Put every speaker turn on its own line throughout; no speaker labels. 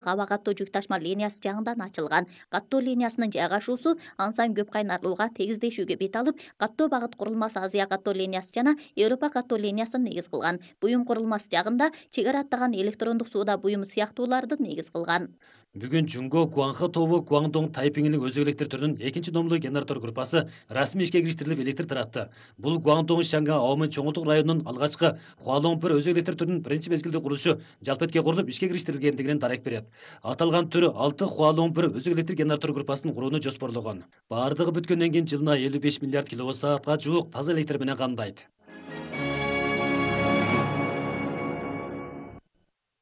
аба каттоо жүк ташма линиясы жаңыдан ачылган. Каттоо линиясынын жайгашуусу ан сайын көп кайнарлууга тегиздешүүгө бет алып, каттоо багыт курулмасы Азия каттоо линиясы жана Европа каттоо линиясын негиз кылган. Буюм курулмасы жагында чек ара аттаган электрондук сууда буюм сыяктууларды негиз кылган.
Бүгүн Жунго Гуанхэ тобу Гуандong Тайпиңдин өзөк электр түрүнүн экинчи номдуу генератор группасы расмий ишке кириштирилип электр таратты. Бул Гуандong Шанга Аомын чоңулдук районунун алгачкы Хуалоңпур өзөк электр түрүнүн биринчи мезгилде курулушу жалпы эткеге курулуп ишке кириштирилгендигинен дарек берет. Аталган түр 6 Хуалоңпур өзөк электр генератор группасын курууну жоспорлогон. Бардыгы бүткөндөн кийин жылына 55 миллиард киловатт саатка жуук таза электр менен камдайт.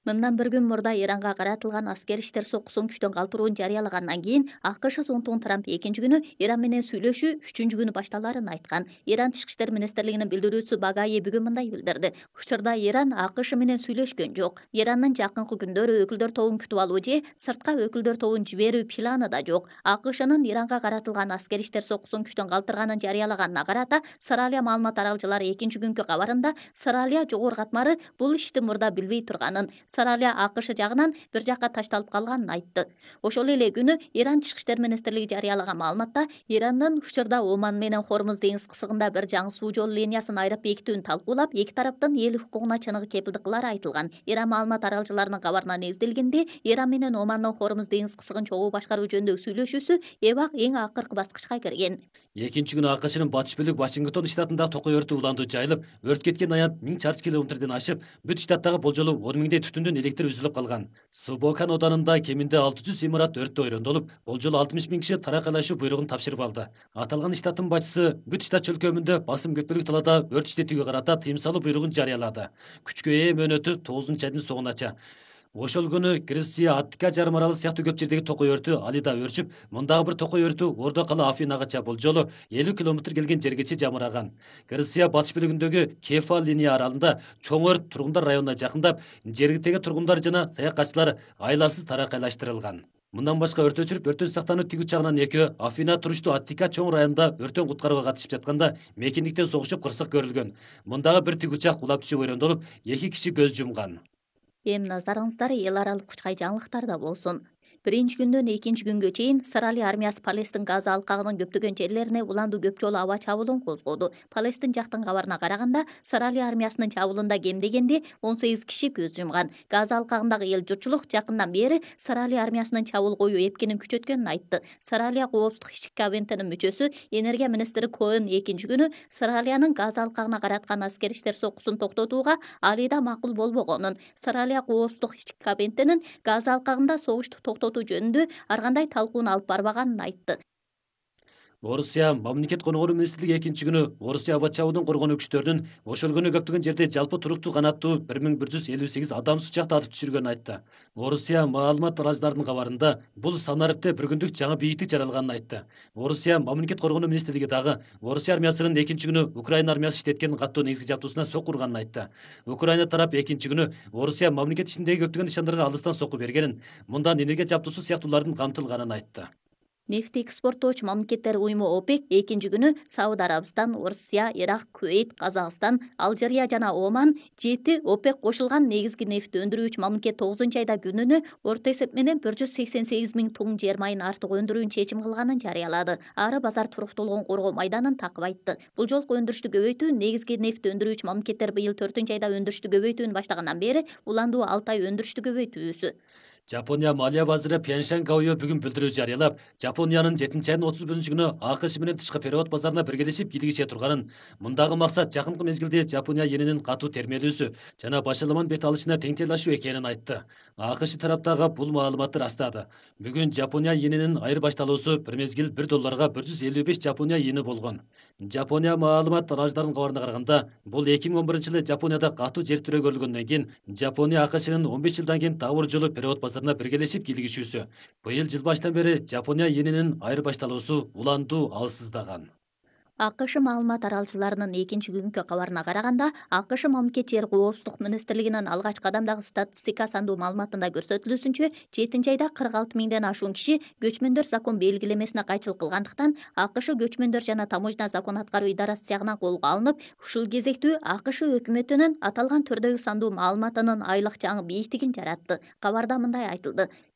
Мындан bir күн мурда Иранга каратылган аскер иштер сокусун күчтөн калтырууну жарыялагандан кийин АКШ Зонтун Трамп экинчи күнү Иран менен сүйлөшүү үчүнчү күнү башталарын айткан. Иран Тышкы иштер министрлигинин билдирүүчүсү Багаи бүгүн мындай билдирди. Учурда Иран АКШ менен сүйлөшкөн жок. Ирандын жакынкы күндөрү өкүлдөр тобун күтүп алуу же сыртка өкүлдөр тобун жиберүү планы да жок. АКШнын Иранга каратылган аскер иштер сокусун күчтөн калтырганын жарыялаганына карата Саралия маалымат аралчылары экинчи күнкү кабарында Саралия жогору катмары бул ишти мурда билбей турганын, Саралия АКШ жагынан бир жакка ташталып калганын айтты. Ошол эле күнү Иран Тышкы иштер министрлиги жарыялаган маалыматта Ирандын учурда Оман менен Хормуз деңиз кысыгында бир жаңы суу жолу линиясын айрып бекитүүнү талкуулап, эки тараптын эл укугуна чыныгы кепилдик кылары айтылган. Иран маалымат аралчыларынын кабарына негизделгенде, Иран менен Омандын Хормуз деңиз кысыгын чогуу башкаруу жөнүндөгү сүйлөшүүсү эбак эң акыркы баскычка кирген.
Экинчи күнү АКШнын батыш бөлүк Вашингтон штатында токой өртү уланды жайылып, өрт кеткен аянт 1000 чарчы километрден ашып, бүт штаттагы болжолу 10 миңдей түтүндүн электр үзүлүп калган. Субокан оданында кеминде 600 имарат өрттө ойрондолуп, болжолу 60 000 киши таракайлашуу буйругун тапшырып алды. Аталган штаттын башчысы бүт штат чөлкөмүндө басым көпөлүк талаада өрт иштетүүгө карата тыйым салуу буйругун жарыялады. Күчкө ээ мөөнөтү 9 айдын соңунача. Ошол күнү Греция, Аттика жарым аралы сыяктуу көп жердеги токой өртү Алида өрчүп, мындагы бир токой өртү Ордо кала Афинагача болжолу 50 километр келген жергече жамыраган. Греция батыш бөлүгүндөгү Кефал линия аралында чоң өрт тургундар районуна жакындап, жергиликтеги тургундар жана саякатчылар айласыз таракайлаштырылган. Мындан башка өрт өчүрүп, өрттөн сактануу тиг учагынан экөө Афина туруштуу Аттика чоң районунда өрттөн куткарууга катышып жатканда мекендиктен согушуп кырсык көрүлгөн. Мындагы бир тиг учак кулап түшүп ойрондолуп, 2 киши көз жумган.
Эми назарыңыздар эл аралык кучкай жаңылыктарда болсун. Биринчи күндөн экинчи күнгө чейин Саралия армиясы Палестин Газа алкагынын көптөгөн жерлерине уландуу көп жолу аба чабуулун козгоду. Палестин жактын кабарына караганда, Саралия армиясынын чабуулунда кем дегенде 18 киши көз жумган. Газа алкагындагы эл журтчулук жакындан бери Саралия армиясынын чабуул коюу эпкинин күчөткөнүн айтты. Саралия коопсуздук ишчи кабинетинин мүчөсү энергия министри Коэн экинчи күнү Саралиянын Газа алкагына караткан аскер иштер сокусун токтотууга Алида макул болбогонун, Саралия коопсуздук ишчи кабинетинин Газа алкагында согушту токтотуу жөнүндө ар кандай талкууну алып барбаганын айтты.
Орусия мамлекет коногору министрлиги экинчи күнү Орусия аба чабуудун коргонуу күчтөрүнүн ошол күнү көптөгөн жерде жалпы туруктуу канаттуу 1158 адам сучакты атып түшүргөнүн айтты. Орусия маалымат аралчыларынын кабарында бул санариптте бир күндүк жаңы бийиктик жаралганын айтты. Орусия мамлекет коргонуу министрлиги дагы Орусия армиясынын экинчи күнү Украина армиясы иштеткен каттуу негизги жабдуусуна сокку урганын айтты. Украина тарап экинчи күнү Орусия мамлекет ичиндеги көптөгөн нышандарга алыстан сокку бергенин, мындан энергия жабдуусу сыяктуулардын камтылганын айтты.
Нефти экспорттоочу мамлекеттер уюму ОПЕК экинчи күнү Сауд Арабистан, Орусия, Ирак, Кувейт, Казакстан, Алжирия жана Оман 7 ОПЕК кошулган негизги нефт өндүрүүчү мамлекет 9-айда күнүнө орто эсеп менен 188 000 тонн жер майын артык өндүрүүнү чечим кылганын жарыялады. Ары базар туруктуулугун коргоо майданын такып айтты. Бул жолку өндүрүштү көбөйтүү негизги нефт өндүрүүчү мамлекеттер быйыл 4-айда өндүрүштү көбөйтүүнү баштагандан бери уландуу 6 ай өндүрүштү көбөйтүүсү.
Жапония малия базары Пхенчхан Гаойо бүгүн билдирүү жарыялап, Жапониянын 7-айдын 30 күнү АКШ менен тышкы перевод базарына биргелешип кийлигише турганын, мындагы максат жакынкы мезгилде Жапония йенинин катуу термелүүсү жана башаламан бет алышына теңтелашуу экенин айтты. АКШ тараптагы бул маалыматты растады. Бүгүн Жапония йенинин айырбашталуусу бир мезгил $1 155 Жапония йени болгон. Жапония маалымат аралчыларынын кабарына караганда, бул 2011-жылы Жапонияда катуу жер тирөө көрүлгөндөн кийин Жапония АКШнын 15 жылдан кийин дагы бир жолу перевод базарына биргелешип кийлигишүүсү. Быйыл жыл баштан бери Жапония йенинин айырбашталуусу уландуу алсыздаган.
АКШ маалымат таралчыларынын экинчи күнкү кабарына караганда, АКШ мамлекет жер коопсуздук министрлигинин алгачкы адамдагы статистика сандуу маалыматында көрсөтүлүүсүнчө, 7 айда 46 миңден ашуун киши көчмөндөр закон белгилемесине кайчылык кылгандыктан АКШ көчмөндөр жана таможня закон аткаруу идарасы жагынан колго алынып, ушул кезектүү АКШ өкмөтүнүн аталган түрдөгү сандуу маалыматынын айлык жаңы бийиктигин жаратты. Кабарда мындай айтылды: